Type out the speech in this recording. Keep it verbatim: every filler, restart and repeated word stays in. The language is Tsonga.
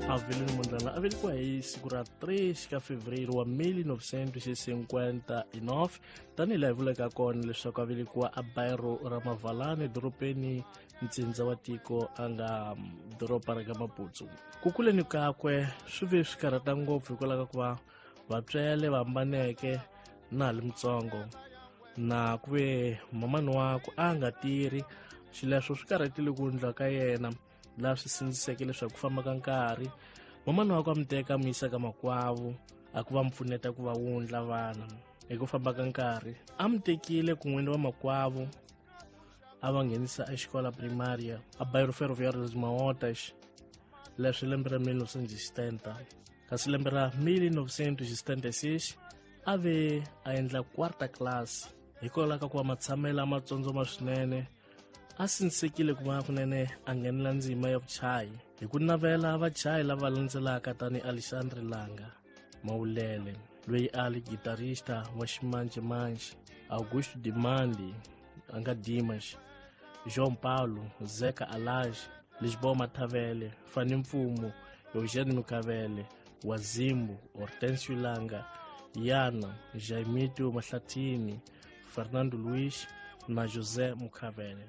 Avelino Mondlane a velekiwa hi siku ra three ka Fevereiro wa mil novecentos e cinquenta e nove, tanihi laha hi vulaka kona leswaku a velekiwa a bairro ra Mavalane, dorobeni ntsindza wa tiko a nga doroba ra ka Maputo. Ku kuleni kakwe swi ve swi karhata ngopfu hikwalaho ka ku va vatswele va hambaneke na ha li mutsongo, na ku ve mamani wakwe a nga tirhi. Xileswo swi karhatile ku ndla ka yena, laha swi sindziseke leswaku ku famba ka nkarhi mamani wakwe a mi teka a mu yisa ka makwavo a ku va mu pfuneta ku va wundla vana. Hi ku famba ka nkarhi a mi tekile kun'we ni vamakwavo a va nghenisa exikola primaria a bairro Ferroviário das Mahotas, leswi lembe ra mil novecentos e setenta. Kasi lembe ra mil novecentos e setenta e seis a ve a endla quarta class. Hikwalaho ka ku va matshamelo a matsotsoma swinene, a sindzisekile ku va kunene a nghenela ndzima ya vuchayi hi ku navela vachayi lava landzelaka tani Alexandre Langa Mawulele, loyi a li guitarista wa ximanjhemanjhe, Augusto Dimandi a nga Dimas, João Paulo Zeka Alage, Lisboa Mathavele, Fani Mfumo, Eugênio Mukavele, Wazimbu, Hortensio Langa, Yana Jaimito Mahlatini, Fernando Luiz na José Mukavele.